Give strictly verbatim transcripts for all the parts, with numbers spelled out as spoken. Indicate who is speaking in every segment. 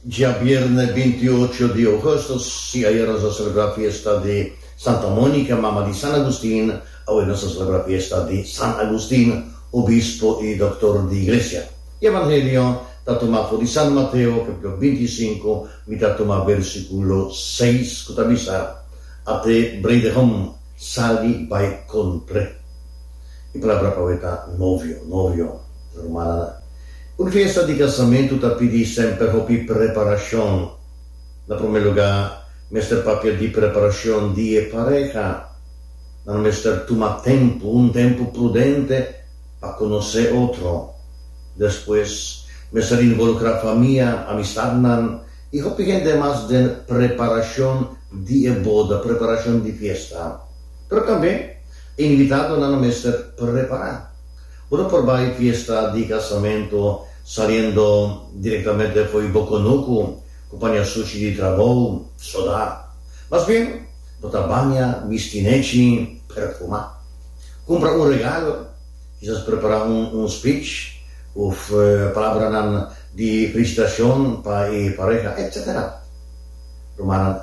Speaker 1: Djabièrnè bintiocho di ougùstùs, si ayera nos a selebrá fiesta di Santa Monica, mama di San Agustin, awe nos ta selebrá fiesta di San Agustin, obispo i dòktor di Iglesia. Evangelio ta tumá for di San Mateo, kapítulo bintisinku, mi ta tuma versíkulo seis, ku ta bisa, At'é bruidegom sali bai kontr'é. E palabra pa awe ta novio, novio, rumannan. Un fiesta di kasamentu ta pidi semper hopi preparashon. Na promé lugá, mester papia di preparashon di e pareha. Nan mester tuma tempu, un tempu prudente, pa konosé otro. Despues, mester involukrá famia, amistatnan i hopi hende mas den preparashon di e boda, preparashon di fiesta. Pero tambe, e invitadonan mester prepará. Bo no por bai fiesta di kasamentu saliendo direktamente fo'i bo kunuku ku paña sushi di trabou, sodá. Mas bien, bo ta baña, bisti nechi, perfumá. Kumpra un regalo, kisas prepará un un speech òf palabranan di felisitashon pa e pareha, etcetera. Rumannan,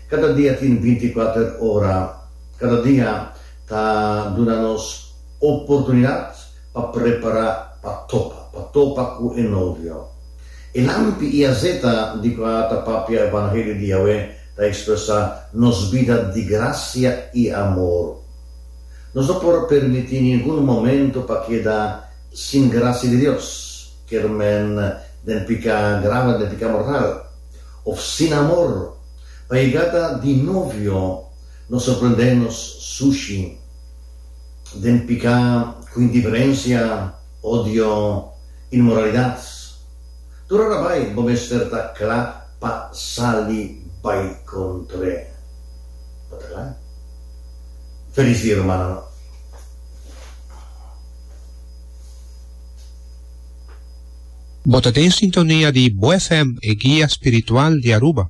Speaker 1: kada dia tin binti kuater ora, kada dia ta duna nos oportunidat pa prepará pa topa, pa topa ku e novio. E lampi i azeta di kua ta papia Evangelio di awe ta ekspresá nos bida di grasia i amor. Nos no por permití ningun momento pa keda sin grasia di Dios, kier men den piká grave, den piká mortal, òf sin amor, pa yegada di novio no sorprendé nos sushi, den piká ku indiferensia, odio, inmoralidat. Tur ora bai bo mester ta kla pa sali bai kontr'é. Bo ta kla? Felis dia, rumannan.
Speaker 2: Bo ta den sintonia di Bo F M, e guia spiritual di Aruba.